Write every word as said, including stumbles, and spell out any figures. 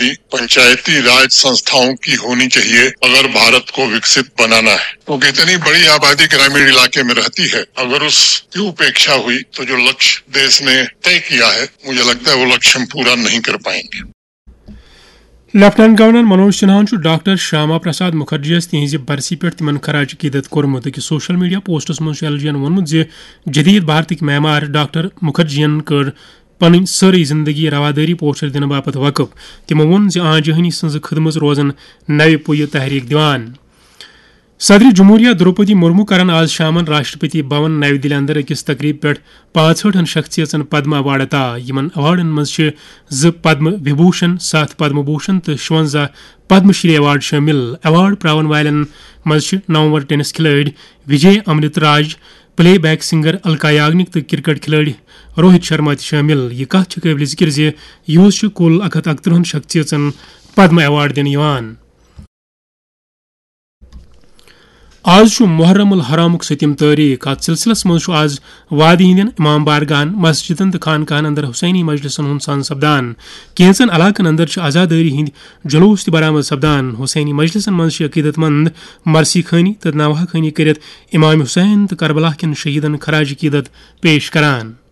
पंचायती राज संस्थाओं की होनी चाहिए अगर भारत को विकसित बनाना है, क्योंकि इतनी बड़ी आबादी ग्रामीण इलाके में रहती है। अगर उसकी उपेक्षा हुई तो जो लक्ष्य देश ने तय किया है, मुझे लगता है वो लक्ष्य हम पूरा नहीं कर पाएंगे। لیفٹیننٹ گورنر منوج سنہاہن چھُ ڈاکٹر شیاما پرساد مکھرجیَس تِہنٛزِ برسی پٮ۪ٹھ تِمن خراج عقیدت کوٚرمُت۔ أکِس سوشل میڈیا پوسٹس منٛز چھُ ایل جی یَن ووٚنمُت زِ جدید بھارتٕکۍ معمار ڈاکٹر مکھرجیَن کٔر پنٕنۍ سٲرٕے زندگی روادٲری پوچھر دِنہٕ باپتھ وقف۔ تِمو ووٚن زِ آ جہانی سٕنٛز خدمژ روزن نوِ پُیہِ تحریک دِوان۔ صدر جمہوریہ دروپدی مرمو کرن آز شامن راشٹرپتی بھون نَوِ دِلہِ اندر أکِس تقریب پٮ۪ٹھ پانٛژہٲٹھن شخصیژن پدم ایوارڈ عطا۔ یِمن ایوارڈن منٛز چھِ زٕ پدم وبھوشن، ستھ پدم بھوشن تہٕ شُونٛزاہ پدم شری ایوارڈ شٲمِل۔ ایوارڈ پراون والٮ۪ن منٛز چھِ نامور ٹینس کھلٲڑۍ وجے امرت راج، play back singer Alka Yagnik تہٕ کرکٹ کھلٲڑۍ روہت شرما تہِ شٲمِل۔ یہِ کتھ چھِ قٲبلِ ذکر زِ یوٗز چھِ کُل اکھ ہتھ اکترٕہن شخصیژن پدم ایوارڈ دِنہٕ یِوان۔ آز چھُ محرم الحرامُک سٔتِم تٲریخ۔ اتھ سلسلس منٛز چھُ آز وادی ہٕنٛدٮ۪ن امام بارگاہن، مسجدن تہٕ خانقاہن اندر حسینی مجلسن ہُنٛد سان سپدان۔ کینٛژن علاقن اندر چھِ عزادٲری ہٕنٛدۍ جلوس تہِ برآمد سپدان۔ حسینی مجلسن منٛز چھِ عقیدت مند مرثی خوانی تہٕ نوحہ خوانی کٔرِتھ امام حسین تہٕ کربلا کٮ۪ن شہیدن خراج عقیدت پیش کران۔